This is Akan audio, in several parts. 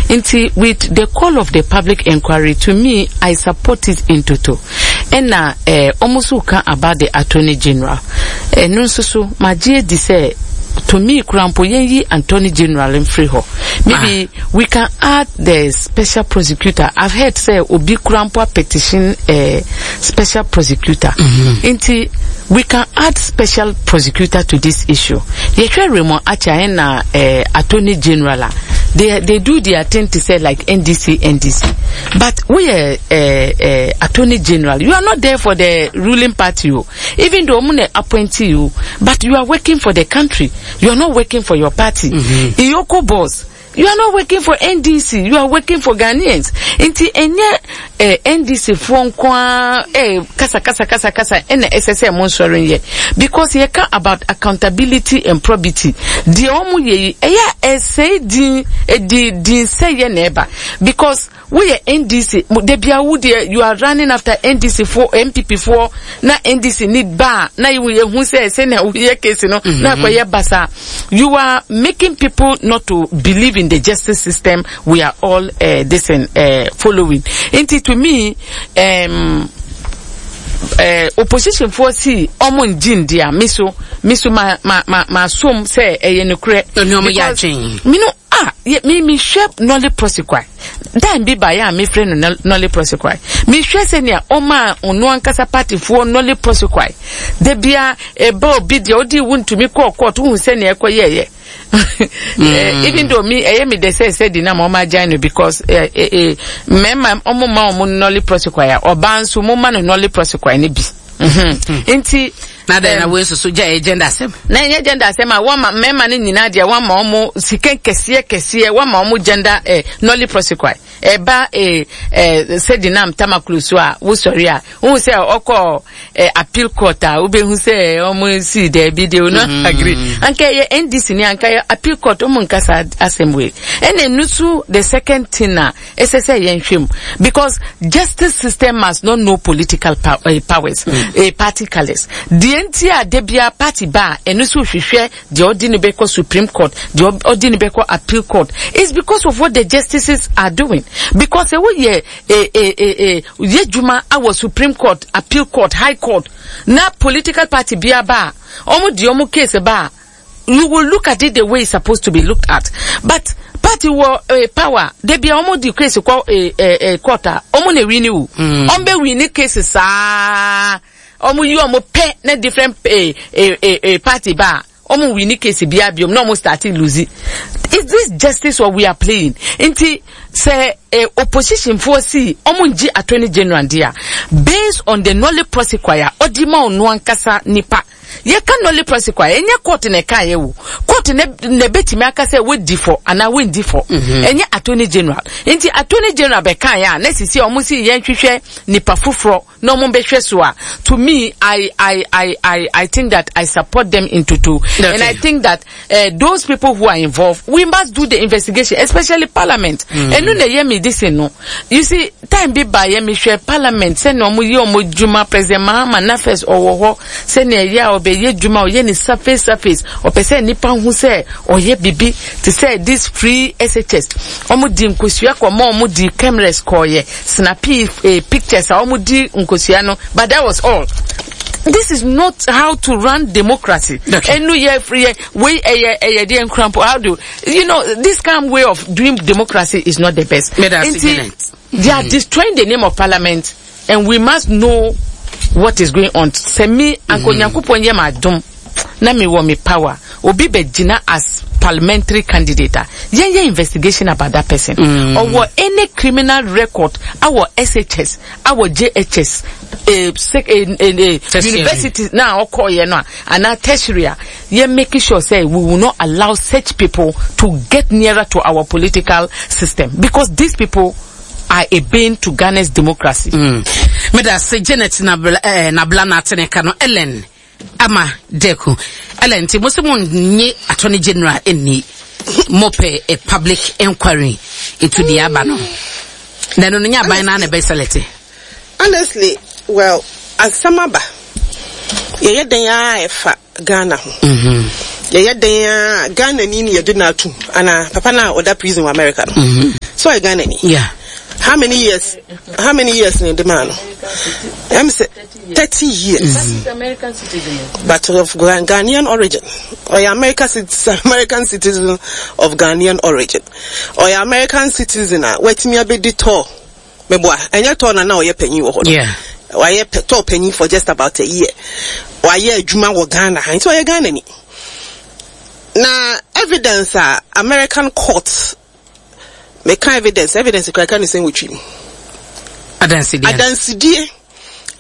Nti with the call of the public inquiry, to me, I support it in toto. Ɛna eh, ɔmo nso ka about the attorney general. Ɛno nso so, magye adi sɛ to me kura mpo yɛnyi attorney general mfiri hɔ. Maybe ah. we can add the special prosecutor. I've heard sɛ obi kura mpo a petition eh, special prosecutor. Mm -hmm. Nti we can add special prosecutor to this issue. Yɛhwɛ Raymond Archer ɛna eh, attorney general a, they do their thing to say like NDC, NDC. But we are eh, eh, attorney general. You are not there for the ruling party. Oh. Even though I'm appoint you, but you are working for the country. You are not working for your party. Mm-hmm. EOCO boss. You are not working for NDC, you are working for Ghanaians. Nti ɛnyɛ eh, NDC foɔ nko ara eh, kasa kasa kasa kasa ɛna ɛsɛ sɛ mo nsɔre nyɛ. Because yɛka about accountability and probity. Deɛ wɔn yɛ yi, ɛyɛ a ɛsɛe din, ɛdi din sɛeɛ na ɛba. Because Woyɛ NDC mo dabia wo deɛ you are running after NDC foɔ NPP foɔ na NDC ni ba a na yɛhu sɛ sɛnea woyɛ case no na mhm. akɔyɛ basa you are making people not to believe in the justice system we are all uh, this and uh, following nti to me um, uh, opposition foɔ si ɔmo ngye ndi a me so me so ma ma ma ma som sɛ ɛyɛ nokorɛ. Ɛnu ɔmo yɛ adwene. Mi no ah mi mi hwɛ nɔle prosequi Dan bi baeɛ a mefrɛ no nolle prosequi. Mehwɛ sɛnea ɔmaa ɔno ankasa partyfoɔ nolle prosequi. Da bia ɛba obi deɛ ɔde wo ntumi kɔɔ court wohu sɛnea ɛkɔyɛɛyɛ. Mm. Even though me ɛyɛ me dɛ sɛ sɛ di na ma ɔma agyae no because eh, eh, eh, mmarima ɔmo ma ɔmo nolle prosequi a ɔbaa nso mo ma no nolle prosequi no bi. Mhm. Nti na dɛn na wei soso gya ɛyɛ gender asɛm. Na ɛnyɛ gender asɛm a wɔma mmarima no nyinaa deɛ wɔma wɔn sika kɛseɛ kɛseɛ wɔma wɔn gender eh, nolle prosequi ɛba eh, eh, sɛdi nam tamaklo so a wosɔre a wohu sɛ ɔkɔ eh, appeal court a wobɛhu sɛ wɔn si daabi deɛ wɔn mm. agree anka ɛyɛ ndc ni anka ɛyɛ appeal court wɔn nkasa asɛm wei ɛna ɛnu so the second thing a ɛsɛ sɛ yɛnhwɛ mu because justice system must not know political pow eh, powers mm. eh, party colours deɛ nti a da biara party ba a ɛno nso hwehwɛ deɛ ɔde ne bɛkɔ supreme court deɛ ɔde ne bɛkɔ appeal court it's because of what the justices are doing because ɛwɔ yɛ eh, eh, eh, eh, yɛ dwuma awɔ supreme court appeal court high court na political party biara ba a wɔn deɛ wɔn case ba a you will look at it the way it's supposed to be looked at but party wɔ eh, power de bia wɔn di case kɔ eh, eh, eh, court a wɔn na wini o wɔn mm. bɛ wini case saa wɔn yi wɔn pɛ na different eh, eh, eh, eh, party ba a wɔn wini case bia biom na wɔn start lose is this justice or we are playing nti sɛ eh, opposition foɔ si wɔn ngye attorney general di a based on the nolle prosequi a ɔdi ma ɔno ankasa nipa. Yɛka nolle prosequi a, ɛnyɛ court na ɛkaeɛ o. Court na na ɛbɛtumi aka sɛ wadi fɔ anaa wendi fɔ. Mhm. Ɛnyɛ attorney general. Nti attorney general bɛkaeɛ a, na sisi a wɔn si yɛnhwehwɛ nipa foforɔ na wɔn bɛhwɛ so a, to me, I, I, I, I, I think that I support them in toto. Okay. And I think that uh, those people who are involved, we must do the investigation, especially parliament. Ɛno na ɛyɛ me this no. You see, time bi ba yɛ mehwɛ parliament sɛnea wɔn yɛ wɔn adwuma, President Mahama na first ɔwɔ hɔ sɛnea ɛyɛ a ɔbɛyɛ adwuma ɔyɛ ne surface surface ɔpɛ sɛ nipa hu sɛ ɔyɛ bibi te sɛ this free SHS wɔn di nkosua kɔ ma wɔn di cameras kɔɔyɛ snappy eh, pictures a wɔn di nkosua no but that was all this is not how to run democracy. Ɛnu yɛ yɛ wei ɛyɛ ɛyɛ deɛ nkrampo how do you know this kind of way of doing democracy is not the best. Nti they are destroying the name of parliament and we must know what is going on. Sɛ mi anka Onyankopɔn yɛ ma adom na mi wɔ mi power obi bɛ gyina as parliamentary candidate a yɛn yɛ investigation about that person. Ɔwɔ any criminal record awɔ SHS awɔ JHS eh, sec, eh, eh, eh, university na ɔkɔɔyɛ no a anaa tertiary a yɛ make sure sɛ we will not allow such people to get nearer to our political system because these people are a bane to Ghana's democracy. Mm. Meda se Janet Nabla, eh, Nabla na atene ka no Ellen ama Deku. Ellen nti mo se mo nye Attorney General enni mo pɛ a public inquiry into the aba no. Na no no nya aban na na be select. Honestly, well, asɛm aba. Yɛyɛ dɛn ara ɛfa Ghana ho. Mm-hmm. Yɛyɛ dɛn ara Ghana ni na yɛde no atum anaa papa no a ɔda prison wɔ America no. Mm-hmm. So ɔyɛ Ghana ni. Yeah. How many years? How many years na ɛde maa no? Ɛm sɛ 30 years. Mm. American citizen. But of Ghanaian origin. Ɔyɛ American citizen, American citizen of Ghanaian origin. Ɔyɛ American citizen a watumi abɛdi tɔɔ. Meboa, ɛnyɛ tɔɔ na na ɔyɛ panyin wɔ hɔ no. Yeah. Wayɛ tɔɔ panyin for just about a year. Wayɛ adwuma wɔ Ghana ha, nti ɔyɛ Ghana ni. Na evidence a American court meka evidence, evidence kura ka ne sɛn wɔ twi mu. Adansedie. Adansedie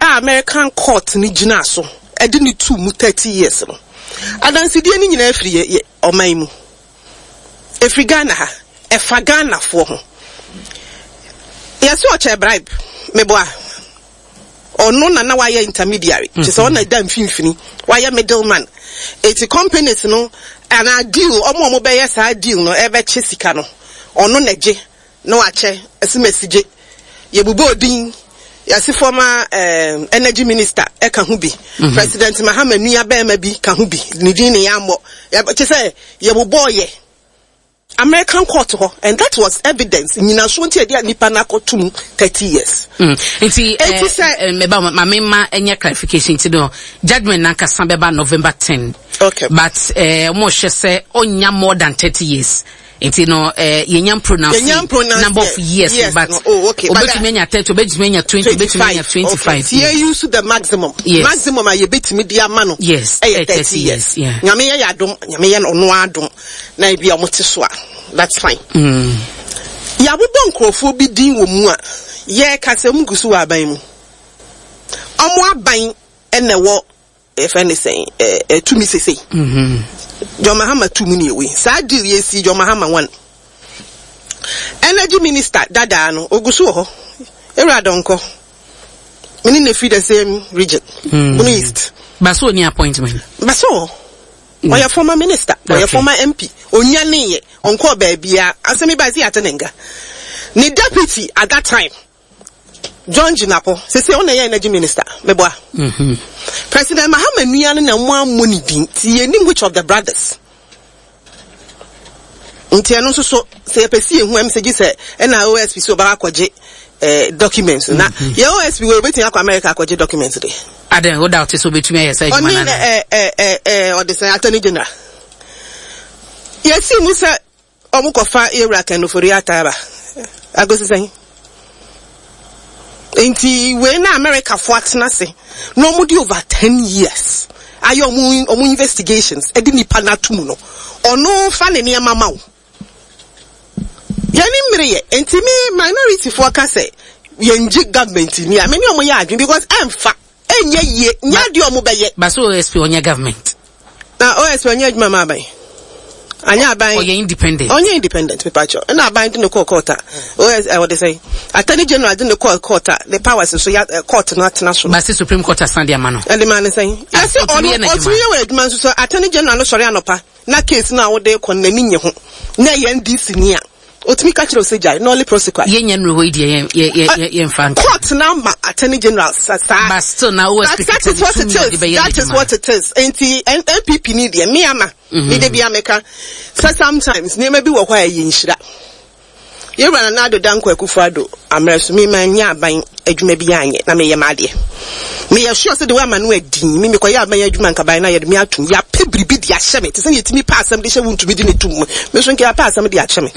a American court no gyina so ɛde ne tu mu 30 years no. Adansedie no nyinaa firi yɛ, yɛ ɔman mu. Ɛfiri Ghana ha. Ɛfa Ghanafoɔ ho. Yɛse ɔkyɛ bribe. Meboa. Ɔno na na wayɛ intermediary. Kyerɛ sɛ ɔno na ɛda mfimfini. Wayɛ middle man. Eti companies no anaa deal, ɔmo a ɔmo bɛyɛ saa deal no ɛbɛkye sika no, ɔno na ɛgye na wakyɛ. Asimasi gye. Yɛbobɔɔ din. Yɛse former eh, energy minister ɛka ho bi. President Mahama nua bɛɛma bi ka ho bi. Ne din ne yɛammɔ. Kyerɛ sɛ yɛbobɔɔ yɛ. American court hɔ and that was evidence nyinasoɔ nti ɛde nipa no akɔto mu 30 years. Nti eti sɛ eh, meba ma me ma ɛnyɛ clarification nti no judgement nankasa bɛba November 10. Okay. But eh mo hwɛ sɛ onya more than 30 years. Nti no eh yɛnya pronounce number of years, yes, but no. Oh, okay. Obetumi anya 30, obetumi anya 20, obetumi anya 25. Okay. Ti yɛ use the maximum. Yes. Maximum a yɛbɛtumi de ama no. Yes. Ɛyɛ 30 years. Yeah. Nyame yɛ yɛ adom, Nyame yɛ ɔno adom. Na ebi a wɔte so a, that's fine. Mm. Yɛabobɔ nkurɔfoɔ bi din wɔ mu a yɛreka sɛ wɔn gu so wɔ aban mu. Wɔn aban na ɛwɔ yɛfrɛ ne sɛn ɛɛ tumi sesei. Mm-hmm. John Mahama tumi ne ewi. Saa deal yɛ si John Mahama one. Energy minister dadaa no ogu so wɔ hɔ. Ewura Donkor. Me ne na firi the same region. Mm. Bono East. Baso oni appointment. Baso wɔ hɔ. Ɔyɛ former minister, ɔyɛ former MP, ɔnyaneeɛ, ɔnkɔɔ baabiara, asɛm yi bae sɛ yɛate ne nka. Ne deputy at that time, John Jinapor, seesei ɔno na ɛyɛ energy minister, meboa. President Mahama nua no na wɔammɔ ne din, nti yɛnnim which of the brothers. Nti ɛno nso so, sɛ yɛpɛ sɛ yɛhu ɛm sɛ gye sɛ ɛna OSP sɛ ɔbɛkɔ akɔgye eh, documents na yɛ OSP wɔ obetumi akɔ America akɔgye documents de. Adɛn, wo doubt sɛ obetumi ayɛ saa adwuma no Ɔne anaa? ɛ ɛ ɛ ɛ ɔde sɛn attorney general. Yɛsii mu sɛ ɔmo kɔfa yɛwura Ken Ofori Atta aba. Akosi sɛn? Nti wei na Americafoɔ atena ase na ɔmo de over 10 years ayɛ ɔmo ɔmo investigations ɛde nipa no ato mu no, ɔno fa ne nneɛma ma wo. Yɛne mmere yɛ. Nti me minority foɔ ka sɛ yɛngye government ni a, me ne ɔmo yɛ adwene because ɛnfa, ɛnyɛ yie, nyɛ adeɛ ɔmo bɛyɛ. But so OSP ɔnyɛ government? Na OSP ɔnyɛ adwuma ma aban. Anyɛ aban. Ɔyɛ independent. Ɔnyɛ independent mepakyɛw. Ɛna aban de no kɔɔ court a, OS ɛ ɔde sɛn? Attorney General de no kɔɔ court a, ne powers nso ya ɛ court no atena so no. But se Supreme Court asan de ama no. Ɛde ma no sɛn? Ah, Yɛse ɔtumi ɔno yɛ n'adwuma. ɔtumi yɛ wɔ adwuma nso so Attorney General no sɔre anɔpa na case no a wode rekɔ no n'ani nnye ho na ɛyɛ NDC ni a, otumi ka kyerɛ wo sɛ gyae, nolle prosequi. Yɛnya nnuru hɔ yi deɛ yɛn yɛ yɛ yɛ yɛmfa nka. Court no ama Attorney General sa saa. But still na OSP But that kita is ne what it tumi a ɔde is. bɛyɛ That is n'adwuma. what it is. Nti N NPP ni deɛ me ama. Me de bia meka sɛ sometimes nneɛma bi wɔ hɔ a ɛyɛ nhyira. Yɛwura Nana Addo Dankwa Akufo Addo ammerɛ so me mannya aban adwuma bi anyɛ na meyɛ m'adeɛ. Meyɛ sure sɛ de woama no adin me mekɔyɛ aban adwuma nka ban no a yɛde me atom. Yɛapɛ biribi de ahyɛ me te sɛ yɛtumi pɛ asɛm de hyɛ wo ntumi de ne tom mu. Me nso nka yɛapɛ asɛm de akyɛ me.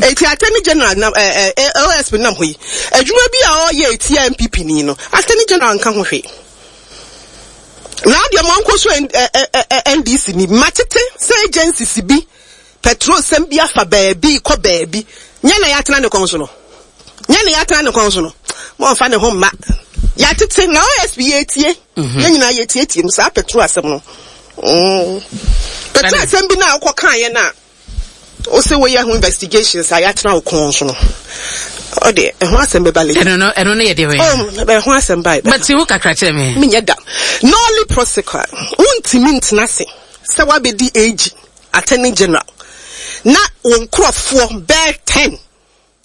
Eti Attorney General nam eh, eh, OSP nam hɔ yi adwuma bi a ɔyɛ etia NPP ni no Attorney General nka ho hwee. Na adeɛ mo ankɔ so NDC ni matete sɛ agencies bi Petrol sɛm bi afa baabi rekɔ baabi. Nyɛ na yɛatena ne kɔn so no. Nyɛ na yɛatena ne kɔn so no. Mommfa ne ho mma. Yɛatete na OSP yɛretie. Mhm. Yɛn nyinaa yɛtietie mu saa petrol asɛm no. Mm. Petrol asɛm bi na wokɔ kaeɛ no a wose woyɛ ho investigations a yɛatena wo kɔn so no. Ɔde ɛho asɛm bɛba later. Ɛno no ɛno no yɛ deɛ wɛn. Oh, ɛho asɛm ba. But wo kakra kyerɛ me. Menyɛ da. Nolle prosequi. Wontumi ntena ase sɛ woabɛdi AG. Attorney General na wo nkorɔfoɔ bɛɛ ten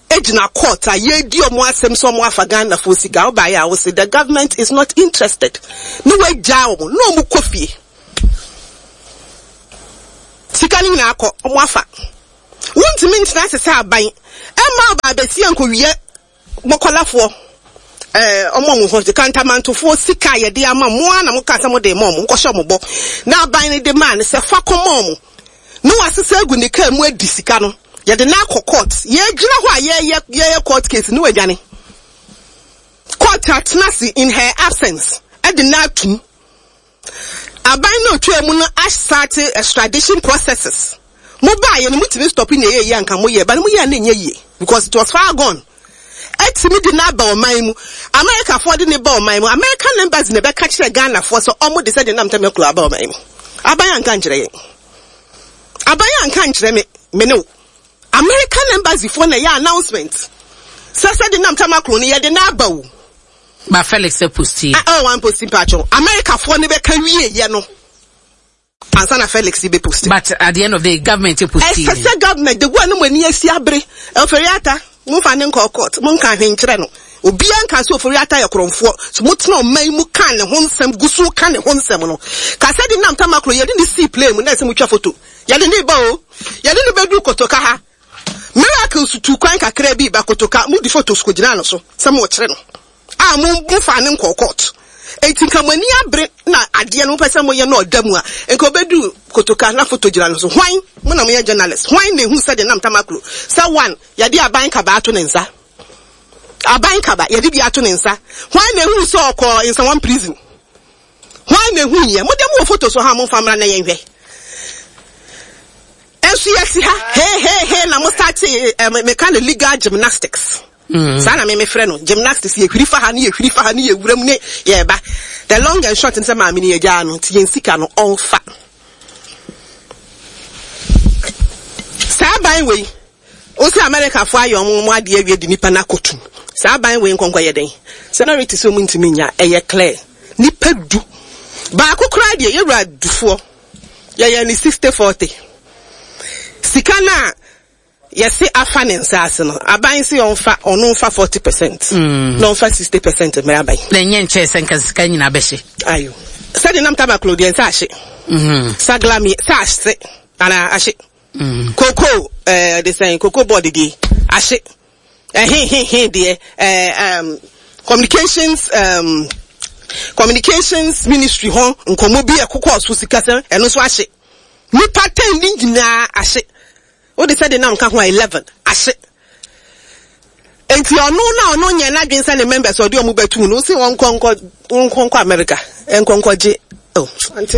gyina court a yɛredi ɔmo asɛm sɛ ɔmo afa Ghanafoɔ sika, wobaeɛ a wose the government is not interested ne woagyaa ɔmo na ɔmo kɔ fie. Sika no nyinaa kɔ, ɔmo afa. Wontumi ntena ase sɛ aban. Ɛmma ɔbaa bɛsia nkɔwia mɔkɔlafoɔ, ɛɛ, ɔmo a ɔmo ho te, kantamantofoɔ sika a yɛde ama mo ara na mokaa sɛ mode rema ɔmo, mokɔhyɛ ɔmo bɔ, na aban no de maa no sɛ fa kɔma ɔmo, na wasesa agu ne kaa mu adi sika no, yɛde no akɔ court, yɛgyina hɔ a yɛyɛ yɛyɛ court case na wadwane. Court atena ase in her absence de no atum. Aban no a otwaa mu no astarte extradition processes. Mo baeɛ no motumi stop nea ɛyɛ yie anka moyɛ but moyɛ a na ɛnyɛ yie because it was far gone. Atumi de no aba ɔman mu. Americafoɔ de no ba ɔman mu. American embassy na ɛbɛka kyerɛ Ghanafoɔ sɛ ɔmo de sɛdeɛ nam Tamaklo aba ɔman mu. Aban anka nkyerɛ yɛn. Aban anka nkyerɛ me, me ne wo. American embassy foɔ na ɛyɛ announcement sɛ sɛdeɛ nam Tamaklo no yɛde no aba o. Ba Felix posti. Ah oh wan posti mpakyɛw. America foɔ no bɛka wie yɛ no ansa na Felix bɛ posti. But at the end of the day government posti. Ɛsɛ sɛ government de gu a no mo ani asi abere. Ofori Atta mo nfa ne nkɔ court mo nka hwee nkyerɛ no. Obia nka sɛ Ofori Atta yɛ korɔnfoɔ. So mo tena ɔman yi mu ka ne ho nsɛm gu so ka ne ho nsɛm no. Ka sɛ de nam tamaklo yɛde ne sii plane mu na ɛsɛ mo twa photo. Yɛde ne ba o. Yɛde no bɛduru Kotoka ha. Miracles tuu kwan kakraa bi ba Kotoka, mode photos kogyinaa no so sɛ morekyere no a mo mofaa no nkɔɔ court. Enti nka mo ani abere na adeɛ no mopɛ sɛ moyɛ na ɔda mu a, nka ɔbɛduru Kotoka na photo gyina no so. Hwan? Mo na moyɛ journalist. Hwan na ehuu sɛdeɛ nam Tamaklo sɛ one, yɛde aban kaba ato ne nsa. Aban kaba, yɛde bi ato ne nsa. Hwan na ehuu sɛ ɔkɔɔ Nsawam prison? Hwan na ehuu yɛ? Mo deɛ mowɔ photos wɔ ha a momfa mmra na yɛnhwɛ. Nso yɛte ha hehehe na mo start eh, meka no legal gymnastics. Mm. Saa na me mefrɛ no gymnastics yɛhwiri fa ha ne yɛhwiri fa ha ne yɛwura mu ne yɛba. The long and short sɛ maame ne yɛgyaa no nti yɛn sika no ɔmfa. Saa ban wei wo sɛ Amerikafoɔ ayɛ ɔmo ɔmo adeɛ awie de nipa no akɔtum. Saa ban wei nkɔnkɔ yɛ dɛn? Sɛ na rete sɛ ɔmo ntumi nya ɛyɛ clear. Nipa du baako koraa deɛ yɛwura dufoɔ. Yɛyɛ no 60-40. Sika no a yɛse afa ne nsa ase no, aban se ɔmfa, ɔno mfa 40 percent, mm. na ɔmfa 60 percent mmrɛ aban. Na ɛnyɛ nkyɛɛ sɛ nka sika nyinaa bɛhye. Ayo. Sɛde nam tabaklo deɛ nsa ahye. Mm. Saglami, sa ahye, anaa ahye. Mm. Koko, eh, de sɛn, koko board deɛ, ahye. Ɛhehehe deɛ ɛɛ um, communications um, communications ministry hɔ nkɔmmɔ bi ɛkokɔɔ so sikasɛm ɛno nso ahye. Nipa ten ne nyinaa ahye. Wode sɛ de nam ka ho a 11 ahye. Enti ɔno na ɔno nyɛ n'adwene sɛ ne members ɔde ɔmo bɛtum no wosi wɔn nkɔ nkɔ wɔn nkɔ America nkɔ nkɔ gye oh ante.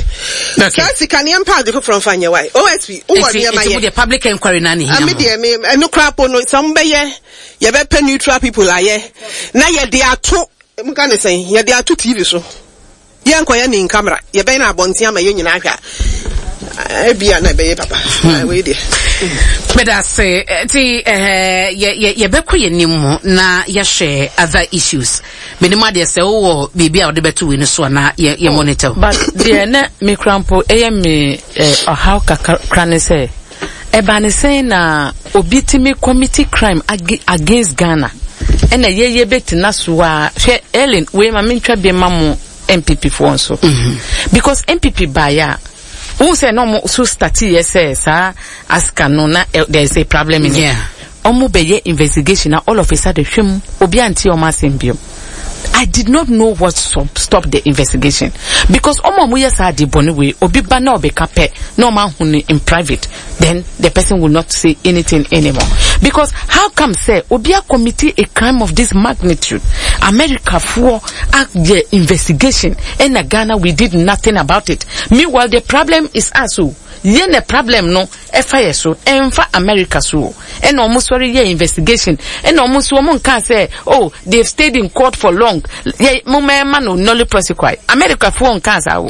Okay. Saa sika ne yɛn mpa ade foforɔ nfa nyɛ wae OSP wowɔ Nti nneɛma nti yɛ. mo deɛ public enquiry na ne hia Ame mo. deɛ me ɛno koraa po no sɛ ɔmo bɛyɛ yɛbɛpɛ neutral people ayɛ na yɛde ato mo ka ne sɛn yɛde ato TV so yɛnkɔyɛ ne in camera yɛbɛyɛ no abɔnten ama yɛn nyinaa ahwɛ a ebia na ɛbɛyɛ papa hmm. wei deɛ. Meda ase nti eh, yɛbɛkɔ yɛn anim mu na yɛahwɛ other issues. Menim adeɛ sɛ wowɔ biribi a wode bɛto wei no so anaa yɛ yɛ monitor. But deɛ na me kura mpo ɛyɛ me eh, ɔhaw kakra ne sɛ ɛba ne sɛn na obi tumi commit crime against Ghana ɛna yɛyɛ bɛtena so a hwɛ Ellen wei ma mentwa bi ma mo NPP foɔ nso mm-hmm. because NPP baeɛ a wohu sɛ na ɔmo so starteeɛ sɛ saa aska no na eh, there is a problem in it Ɔmo bɛ yɛ investigation na all of a sudden hwim obi ante ɔmo asɛm biom. I did not know what stop the investigation because ɔmo a ɔmo yɛ saa ade bɔne wei obi ba na ɔbɛka pɛ na ɔmo ahu no in private then the person will not say anything anymore because how come sɛ obi a commit a crime of this magnitude America foɔ ayɛ investigation ɛna Ghana we did nothing about it meanwhile the problem is us o yɛ na problem no Ɛfa yɛ so, ɛnfa America so o. Ɛna ɔmo sɔre yɛɛ investigation, ɛna ɔmo nso ɔmo nkaa sɛ oh they've stayed in court for long, yɛ momma yɛma no nolle prosequi. America foɔ nkaa saa o.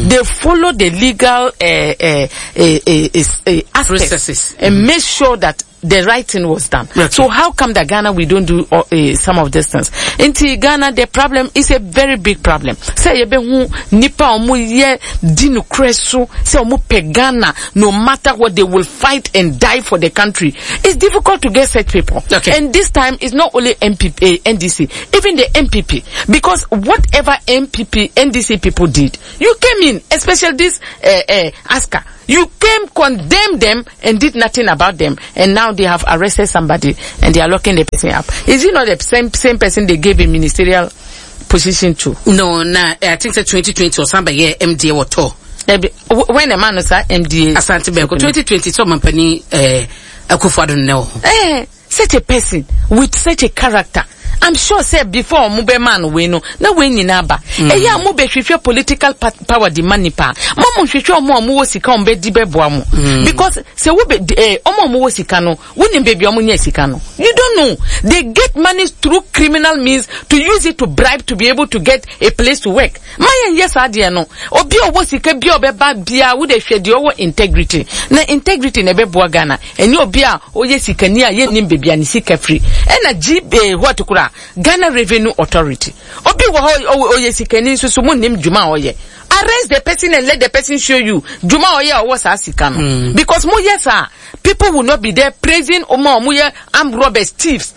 They follow the legal eh, eh, eh, eh, eh, eh, aspects Processes. and make sure that the right thing was done. Okay. So how come that Ghana we don't do some of these things? Nti Ghana the problem is a very big problem. Sɛ yɛbɛhu nipa a wɔn yɛ di nokorɛ so sɛ wɔn pɛ Ghana no matter what they will fight and die for the country. It's difficult to get such people. Okay. And this time it's not only MPP, eh, NDC, even the MPP because whatever MPP, NDC people did, you came in, especially this uh, uh, ASCA. You came, condemned them, and did nothing about them. And now they have arrested somebody and they are locking the person up. Is it not the same same person they gave a ministerial position to? No, na I think sɛ 2020 ɔsan bɛyɛ MDA wɔ tɔ. When a man is MDA. Asante Bɛko 2020 sɛ ɔmampanin eh, Akufo-Addo nnɛ wɔ hɔ. Eh, such a person with such a character. I'm sure sɛ before ɔmo bɛ maa no wei no na wei nyinaa ba. Ɛyɛ a mo bɛ hwehwɛ political power de ma nipa. Mo mo hwehwɛ ɔmo a ɔmo wɔ sika ɔmo bɛ di bɛ boa mo. Because sɛ wo bɛ eh, ɔmo a ɔmo wɔ sika no wonim baabi a ɔmo nya sika no. You don't know. They get money through criminal means to use it to bribe to be able to get a place to work. Ma yɛn yɛ saa deɛ no. Obi a ɔwɔ sika bi a ɔbɛba biara wo de hwɛ deɛ ɔwɔ integrity. Na integrity na ɛbɛboa Ghana. Ɛnyɛ obi a ɔyɛ sikani a yɛnnim baabi a ne sika firi. Ɛna G eh, what koraa? Ghana Revenue Authority. Obi wɔ hɔ ɔyɛ sikani nso so monnim dwuma a ɔyɛ. Arrest the person and let the person show you dwuma a ɔyɛ a ɔwɔ saa sika no. Mm. Because moyɛ saa, people will not be there praising ɔmo a ɔmo yɛ armed robbers, thieves.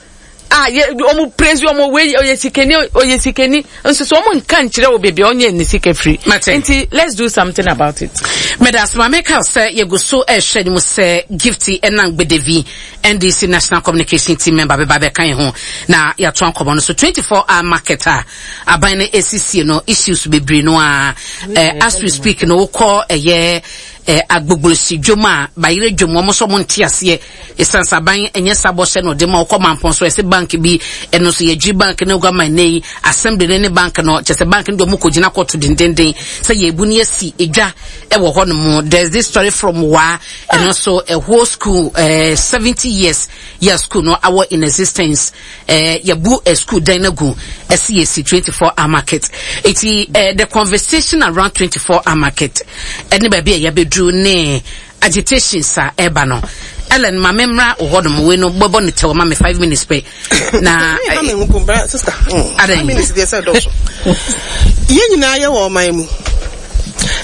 a yɛ ɔmo praise ɔmo wei ɔyɛ sikani ɔyɛ sikani nso so ɔmo nka nkyerɛ wɔ beebi a ɔnyɛ ne sika firi nti let's do something about it. Meda ase ma meka sɛ yɛgu so ɛrehwɛ ne mu sɛ Gifty ɛnam Gbedevi NDC National Communication Team member bɛba bɛka yɛn ho na yɛato nkɔmmɔ no so 24 hour market a aban no esisie no issues bebree no a eh, as we speak no wokɔ ɛyɛ eh, agbogbolosi dwom a bayerɛ dwom wɔn nso wɔn nte aseɛ Esiane sɛ aban nyɛ saa bɔhyɛ na ɔde ma wokɔ mampɔn so ɛsɛ bank bi ɛno nso yɛgye bank no gua ma nnɛ yi assembly no ne bank no kyɛ sɛ bank no deɛ ɔmo kɔgyina kɔto dendenden sɛ yɛbu no yɛsi edwa ɛwɔ hɔ nom. There's this story from waa ɛno nso a whole school eh, 70 years yɛ school no awɔ in existence eh, yɛbu eh, school dan no agu ɛsi yɛsi 24 hour market eti eh, the conversation around 24 hour market ɛne baabi a yɛabɛduru ne Agitations a ɛba no. Ellen ma me mmra wo hɔ nom wei no bɛbɔ ne tɛw ma me 5 minutes pɛ na. Ha me ho bra sister. Mm. Adan. Minutes deɛ sɛ dɔso. Yɛn nyinaa yɛ wɔ ɔman mu.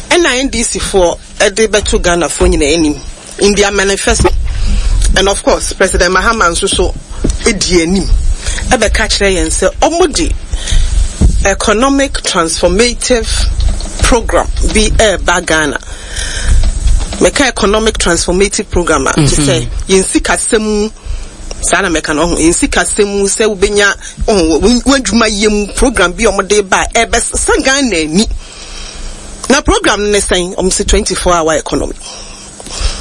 Ɛna NDC foɔ ɛde bɛto Ghana foɔ nyinaa anim in their manifesto and of course President Mahama nso so edi anim ɛbɛka kyerɛ yɛn sɛ ɔmo de economic transformative program bi ɛɛba Ghana. Meka economic transformative program a, te sɛ yɛn sikasɛm mu, saa na mɛka no, ɔho, yɛn sikasɛm mu sɛ wobɛnya, ɔho, w'adwuma yɛ mu program bi a wɔde ba a ɛbɛsesa Ghana ani. Na program no ne sɛn? Wɔn se 24 hour economy.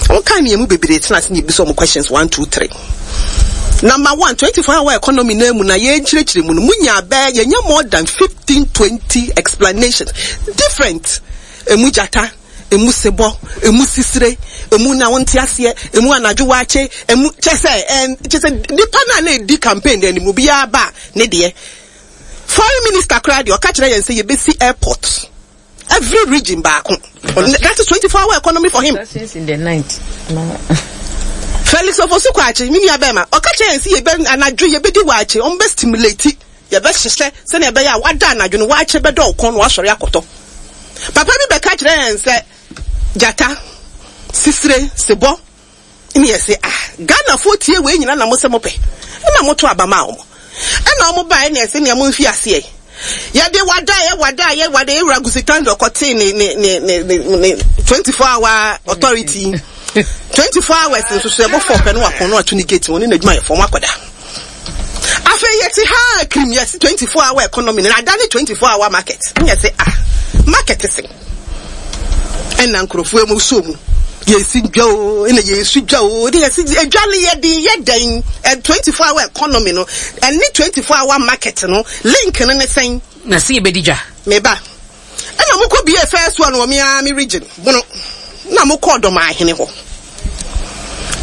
Wɔn kan ne yɛn mu bebree tena ase na yɛbisa wɔn questions 1, 2, 3. Number one, 24 hour economy na mu na yɛnkyerɛkyerɛ mu no, mu nya bɛɛ, yɛnya more than 15, 20 explanations. Different. Emu gyata, emu sebɔ, emu sisire, emu na wonte aseɛ, emu anadwo waakye, emu kyɛ sɛ ɛn kyɛ sɛ nipa no a na edi campaign no anim obiara ba ne deɛ. Foreign minister koraa deɛ ɔka kyerɛ yɛn sɛ yɛbɛsi airport every region baako. That is 24 hour economy for him. In the night. Felix Ofosu Kwakye, me nua bɛrima, ɔka kyerɛ yɛn sɛ yɛbɛ anadwo yɛbɛdi waakye, wɔn bɛ stimulate. Yɛbɛhyehyɛ sɛnea ɛbɛyɛ a wada anadwo no, waakye bɛdɔ wo kɔn na woasɔre akɔtɔ. Papa bi bɛka kyerɛɛ yɛn sɛ gyata, sisire, sebɔ, ne yɛse ah, Ghanafoɔ tie wei nyina na mose mopɛ, ɛna moto aba maa wɔn. Ɛna wɔn baeɛ na yɛse nea momfi aseɛ. Yɛde wadaeɛ, wadaeɛ, wadaeɛ, Wura Gusitando kɔtee ne, ne, ne, ne, ne, ne 24 hour authority. 24 hours nso so ɛbɔ fɔɔ pɛ no wakɔn no ato ne gate wɔne n'adwumayɛfoɔ wɔn akɔda. Afei yɛte ha a kirim yɛse 24 hour economy no ada ne 24 hour market ne yɛse ah market se ɛna nkurɔfoɔ mu so mu yɛsi dwa o ɛna yɛsu dwa o ne yɛse adwa no yɛde yɛ dɛn 24 hour economy no ɛne 24 hour market no link no ne sɛn. Na se yɛbɛdi dwa. Meba Ɛna mo kɔ bie first one wɔ me ara me region bono na mo kɔɔ Dɔmaahene hɔ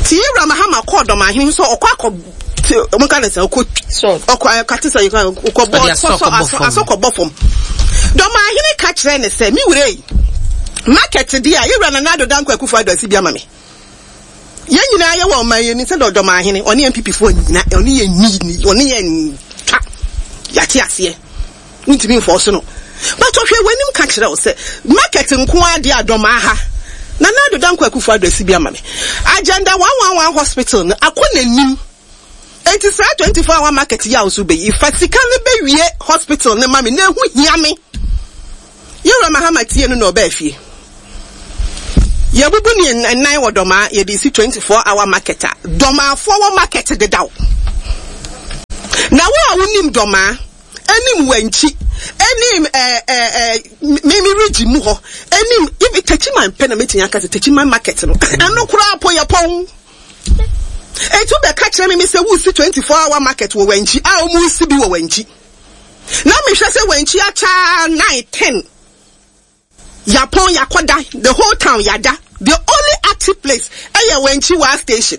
ti Yewura Mahama kɔɔ Dɔmaahene sɛ ɔkɔ akɔ mo ka ne sɛ ɔkɔ ɔkɔ ɛkate sɛ ɔkɔ bɔ sɔsɔ asɔ asɔ kɔ bɔ fam Dɔmaahene ka kyerɛ ne sɛ me wura yi market deɛ a Yewura Nana Addo Dankwa Akufo Addo asi bi ama me yɛn nyinaa yɛ wɔ ɔman yɛn ni sɛ Dɔmaahene ɔne NPP foɔ nyina ɔne yɛn ni ɔne yɛn twa yɛate aseɛ. Wontumi nfɔɔso no. But ɔhwɛ w'anim ka kyerɛ wo sɛ market nko ara deɛ a Dɔmaa ha. Nana Addo Dankwa Akufo Addo asi bi ama me. Agenda 111 hospital no akɔ n'anim. Enti saa 24 hour market yi a wo so wobɛyi, fa sika no bɛwie hospital no ma me na ɛho hia me. Yɛwura Mahama tie no na ɔbaa fie. Yɛbubu ne nnan wɔ Dɔmaa, yɛde si 24 hour market a, Dɔmaafoɔ wɔ market dedaw. Na wo a wonim Dɔmaa, ɛnim Wankyi, ɛnim ɛɛ ɛɛ me me region mu hɔ, ɛnim even Techiman pɛ na mɛtumi aka sɛ Techiman market no, ɛno koraa po yɛ pɔn. Enti wobɛka kyerɛ me me sɛ wosi 24 hour market wɔ Wankyi a wɔn si bi wɔ Wankyi. Na mehwɛ sɛ Wankyi akyɛ 9, 10. Yapɔn yakɔda the whole town yada the only active place ɛyɛ Wenchi waa station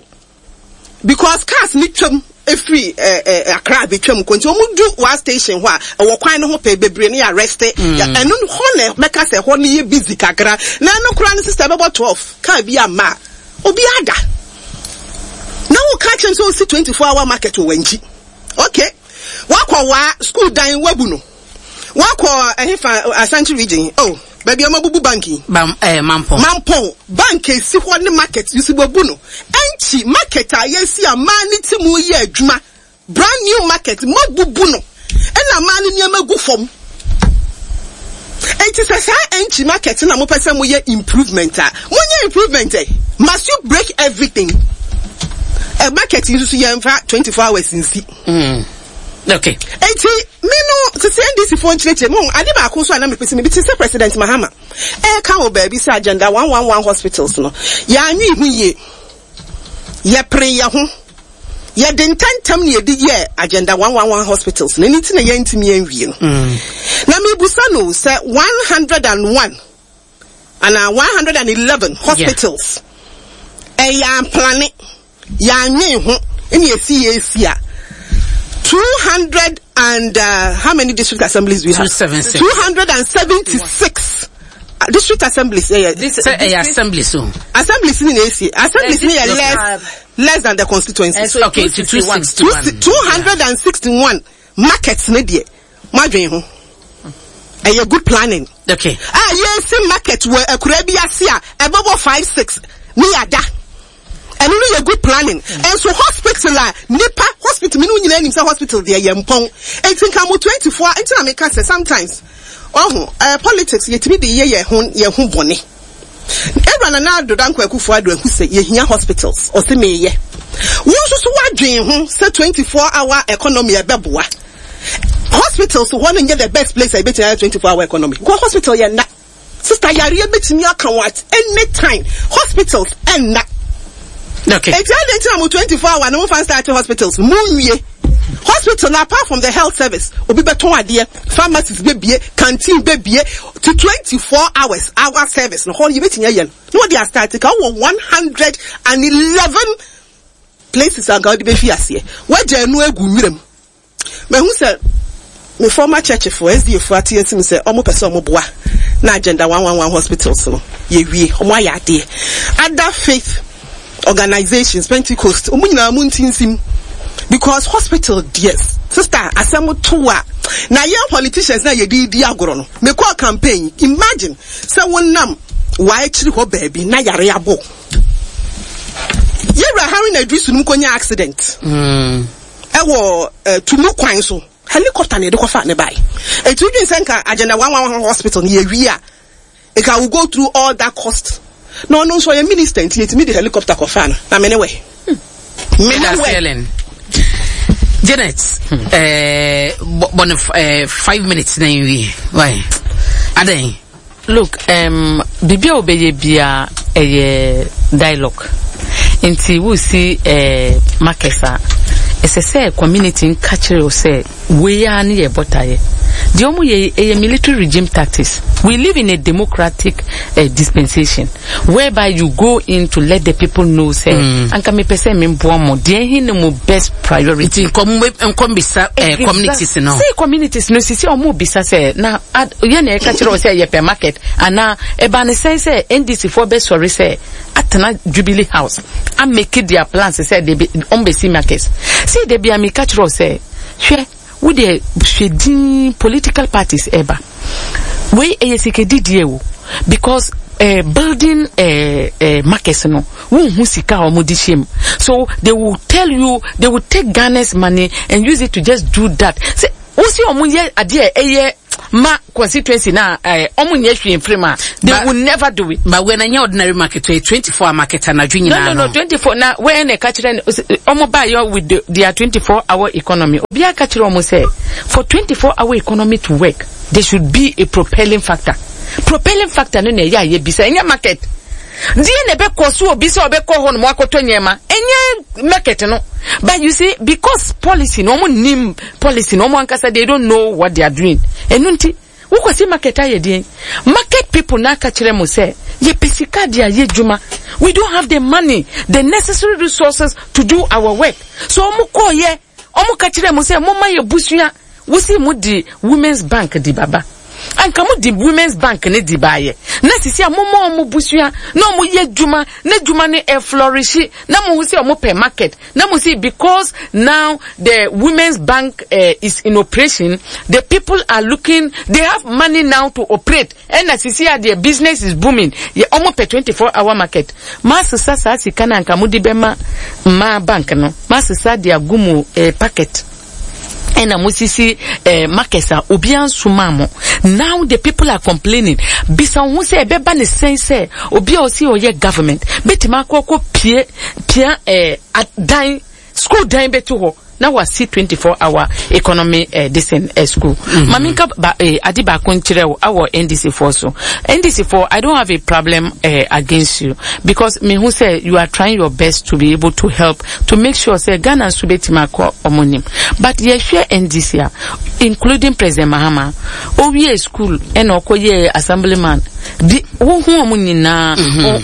because cars ne twam efiri ɛɛ ɛɛ Accra betwam kɔ nti wɔn du waa station hɔ a ɛwɔ kwan no ho pɛɛ bebree ne yɛ arrest ɛno hɔ na mɛka sɛ hɔ no yɛ busy kakra na ɛno koraa no sister ɛbɛbɔ 12 car bi ama a obi ada na wo ka kyerɛ sɛ osi 24 hour market wɔ Wenchi okay wakɔ waa school dan wabu no. Wakɔ ɛhefa Ashanti region oh baabi a wɔabubu bank yi. Bam eh, Mampong. Mampong bank esi hɔ ne market nso wabu no. Ɛnkyi market a yɛasi a mmaa ne ti mu yɛ adwuma brand new market moabubu no ɛna mmaa no nneɛma gu fam. Enti sɛ saa ɛnkyi market na mopɛ sɛ moyɛ improvement a monyɛ improvement ɛ must you break everything? Ɛ market yi nso so yɛmfa 24 hours nsi. Okay. Enti me no sisi NDC foɔ nkyerɛkyerɛ mu ade baako nso a na mepɛ sɛ mebi te sɛ President Mahama ɛka wɔ baabi sɛ agenda 111 hospitals no yɛanwe ho yie, yɛpere yɛ ho, yɛde ntɛntɛm na yɛde yɛɛ agenda 111 hospitals no, ɛno nti na yɛntumi anwie no. Na mebusa no sɛ 101 anaa 111 hospitals ɛyɛ amplane yɛanwen ho ɛna yɛsi yɛsi a 200 and how many district assemblies do we have? 276. 276 district assemblies. Yeah, yeah. This, Say, assemblies. So. Assemblies in AC. Assemblies yeah, less than the constituencies. So okay, to 261. 261 markets ne deɛ madwen ho. Ɛyɛ good planning. Okay. Ah, yɛsi market wɔ akura bi ase a ɛbɛbɔ 5 6 ne yada. Ɛno no yɛ good planning. Nso hospital a nipa hospital mi no nyinaa nim sɛ hospital deɛ yɛ mpɔn. Enti nka mo 24 nti na meka sɛ sometimes ɔho politics yɛtumi de yɛ yɛ ho bɔne. Ewura Nana Addo Dankwa Akufo-Addo ahu sɛ yɛhia hospitals ɔse meyɛ. Wo nso so woadwen ho sɛ 24 hour economy ɛbɛboa. Hospitals hɔ no nyɛ the best place a yɛbɛtumi ayɛ 24 hour economy. Kɔ hospital yɛ nna. Sister yareɛ bɛtumi aka wo at any time. Hospitals ɛnna. Okay. Enti adɛn nti na mo 24 hour no mo fa start hospitals mo nwie. Hospital na apart from the health service obi bɛtɔn adeɛ, pharmacies bɛbie, canteen bɛbie to 24 hours hour service no hɔ yɛbɛtumi ayɛ no. Na wɔde astart ka wɔ 111 places anka wɔde bɛfi aseɛ. Wɔagya ɛno agu nwuram. Mahu sɛ me former church fo SDA fo ate asim sɛ ɔmo pɛ sɛ ɔmo boa na agenda 111 hospitals no yɛwie ɔmo ayɛ adeɛ. Other faith organizations Pentecost ɔmo nyinaa mo ntinsim because hospital deɛ sister asɛm to a na yɛn politicians na yɛde di agorɔ no. Mekɔɔ campaign, imagine sɛ wonam w'akyiri hɔ baabi na yare abɔ. Yɛwura Haruna Iddrisu no mu kɔnya accident. Ɛwɔ tumu kwan so helicopter na yɛde kɔfa ne bae. Eti wodwen sɛ nka agenda 111 hospital no yɛwie a nka we go through all that cost. Na ɔno nso ɔyɛ minister nti yɛtumi de helicopter kɔfa no na mene wɛ. Mene wɛ. Janet, bɔne 5 minutes na nwie. Why? Aden. Look, biribi a wobɛyɛ bia ɛyɛ dialogue. Nti wosi markets a ɛsɛ sɛ community nka kyerɛ wo sɛ wei ara ne yɛ bɔtaeɛ. Deɛ ɔmo yɛ ɛyɛ military regime tactics. We live in a democratic dispensation whereby you go in to let the people know sɛ anka mepɛ sɛ memboa mo deɛ ɛhe ne mo best priority. Nti nkɔm bisa communities no. Sɛ communities no sisi ɔmo bisa sɛ na yɛ na ɛka kyerɛ wo sɛ yɛpɛ market anaa ɛba ne sɛn sɛ NDC foɔ bɛsɔre sɛ atena Jubilee House a make their plans sɛ de ɔmo bɛsi markets. Sɛ de bia meka kyerɛ wo sɛ hwɛ wo deɛ hwɛ din political parties ɛba wei ɛyɛ sikadidie o because building markets no wonhu sika a wɔde hyɛ mu so they will tell you they will take Ghana's money and use it to just do that sɛ wosi wɔn yɛ adeɛ ɛyɛ. ma constituency na eh, ɔmo nyɛ hwee mfiri mu a, they But- will never do it. But wei na nyɛ ordinary market, ɛyɛ 24 hour market anadwo No, nyinaa no, no, 24. Na where na ɛka kyerɛ no, ɔmo ba yɛ with their 24 hour economy. Obiara ka kyerɛ ɔmo sɛ, for 24 hour economy to work, there should be a propelling factor. Propelling factor no na ɛyɛ a yɛbisa, ɛnyɛ market. Deɛ na ɛbɛkɔ so obi sɛ ɔbɛkɔ hɔ nom akɔtɔ nneɛma, ɛnyɛ market no. But you see, because policy no, ɔmo nim policy no, ɔmo ankasa they don't know what they are doing. Ɛno nti, wokɔsi market ayɛ deɛn? Market people na aka kyerɛ mo sɛ, yɛpɛ sika de ayɛ adwuma. We don't have the money, the necessary resources to do our work. So ɔmo kɔɔyɛ, ɔmo ka kyerɛ mo sɛ, momma yɛ busua. Wosi mo de women's bank di baba. Anka mo de women's bank ne di baayɛ. Na sisi a momma ɔmo busua na ɔmo yɛ adwuma na adwuma no ɛflɔrehye na mo hu sɛ ɔmo pɛ market na mo si because now the women's bank uh, is in operation, the people are looking, they have money now to operate. Ɛna sisi a deɛ business is booming, yɛ ɔmo pɛ 24 hour market. Masesa saa sika no anka mo de bɛma mmaa bank no, masesa de agu mo eh, packet. Ɛna mo sisi eh, markets a obiara nsomaa mo. Now the people are complaining. Bisa wo ho sɛ ɛbɛba ne sɛn sɛ obi a ɔsi ɔyɛ government bɛtumi akɔ akɔ pie pia eh, dan school dan bɛto hɔ na wasi 24 hour economy eh, this in eh, school. Mm -hmm. Maame nka ba, eh, ade baako nkyerɛ wo awɔ NDC foɔ so. NDC foɔ, I don't have a problem eh, against you because me hu sɛ you are trying your best to be able to help to make sure sɛ Ghana nso bɛtumi akɔ ɔmo nim. But yɛhwɛ NDC a, including President Mahama, owie school ɛna ɔkɔ yɛ assemblyman. Di wohu ɔmo nyinaa,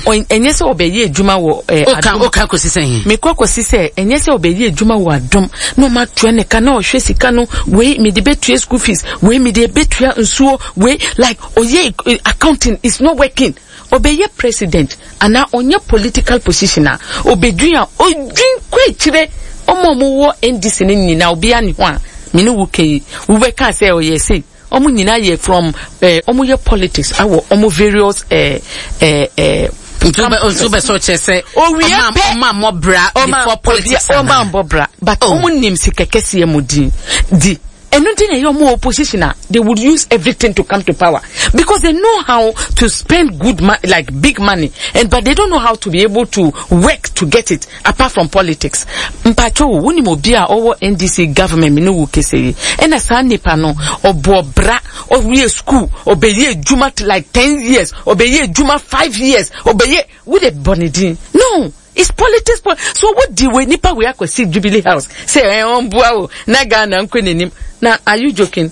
ɛnyɛ sɛ ɔbɛyɛ adwuma wɔ eh, adom. Oka kɔsi sɛ Mekɔ kɔsi sɛ ɛnyɛ sɛ ɔbɛyɛ adwuma wɔ adom na ɔmo atua ne ka na ɔhwɛ sika no, wei mede bɛtua school fees, wei mede bɛtua nsuo, wei like ɔyɛ eh, accounting is not working. Ɔbɛyɛ president anaa ɔnyɛ political position a, ɔbɛdwin a, ɔdwin kɔ akyire. Ɔmo a ɔmo wɔ NDC no nyinaa, obiara nni hɔ a me ne wo ka yi, wobɛka sɛ ɔyɛ sei. Ɔmo nyinaa yɛ from eh, ɔmo yɛ politics awɔ ɔmo various eh, eh, eh, Nti wobɛ sɛ ɔkyerɛ sɛ Owie pɛ, ɔma mmɔ bra before politics ɔma mmɔ bra, but ɔmo nim sika kɛseɛ mu din di. Ɛno nti na ɛyɛ ɔmo opposition a, they would use everything to come to power because they know how to spend good money, like big money, and but they don't know how to be able to work to get it apart from politics. Mpacho, wonim obi a ɔwɔ NDC government me ne wo kese yi, ɛna saa nipa no ɔbɔ bra, ɔwie school, ɔbɛyɛ adwuma like 10 years, ɔbɛyɛ adwuma 5 years, ɔbɛyɛ, wo de bɔ ne din. No. It's politics po so wo di wei nipa wei akɔsi Jubilee House sɛ ɛ ɔmboa o na Ghana nkɔ n'anim na are you joking?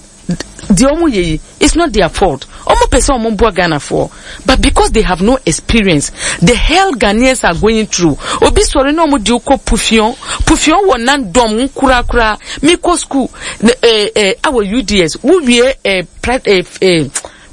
Deɛ ɔmo yɛ yi it's not their fault, ɔmo pɛ sɛ ɔmo boa Ghanafoɔ but because they have no experience, the hell Ghanaians are going through. Obi sɔre na ɔmo de wo kɔ Pufion, Pufion wɔ Nandɔm nkorakora. Me kɔ school eh, eh, awɔ UDS wo wie eh, pra, eh, eh,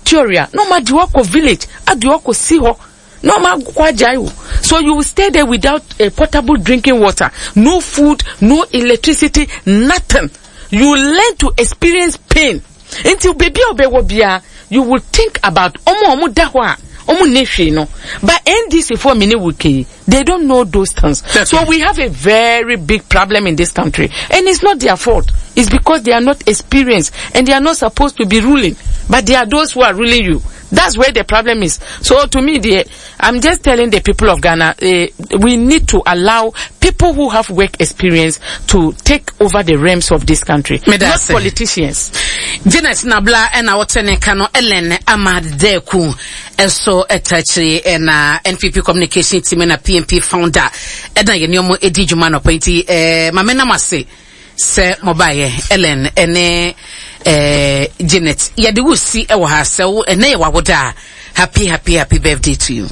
theory a na ɔmo ade wo akɔ village, ade wo akɔ si hɔ na ɔmo akɔ agyae wo. So you will stay there without a potable drinking water, no food, no electricity, nothing. You learn to experience pain. Nti baabi a ɔbɛwɔ biara, you will think about ɔmo a ɔmo da hɔ a ɔmo nni hwee no. But NDC foɔ me ne wo kei, they don't know those things. So we have a very big problem in this country, and it's not their fault. It's because they are not experienced and they are not supposed to be ruling, but they are those who are ruling you. That's where the problem is. So to me, I'm just telling the people of Ghana, we need to allow people who have work experience to take over the realms of this country, not politicians. Janet Nabla ɛna wɔte ne ka no, Ellen Ahmad Deku ɛso ɛta akyire ɛna NPP communication team na PNP founder ɛna yɛne ɔmo ɛdi dwuma nɔpɛ nti ɛɛ maame nam ase sɛ mobaeɛ. Ellen ɛne ɛɛ Janet, yɛde wo si ɛwɔ ha sɛ wo ɛnɛ yɛ wawoda a, happy happy happy birthday to you.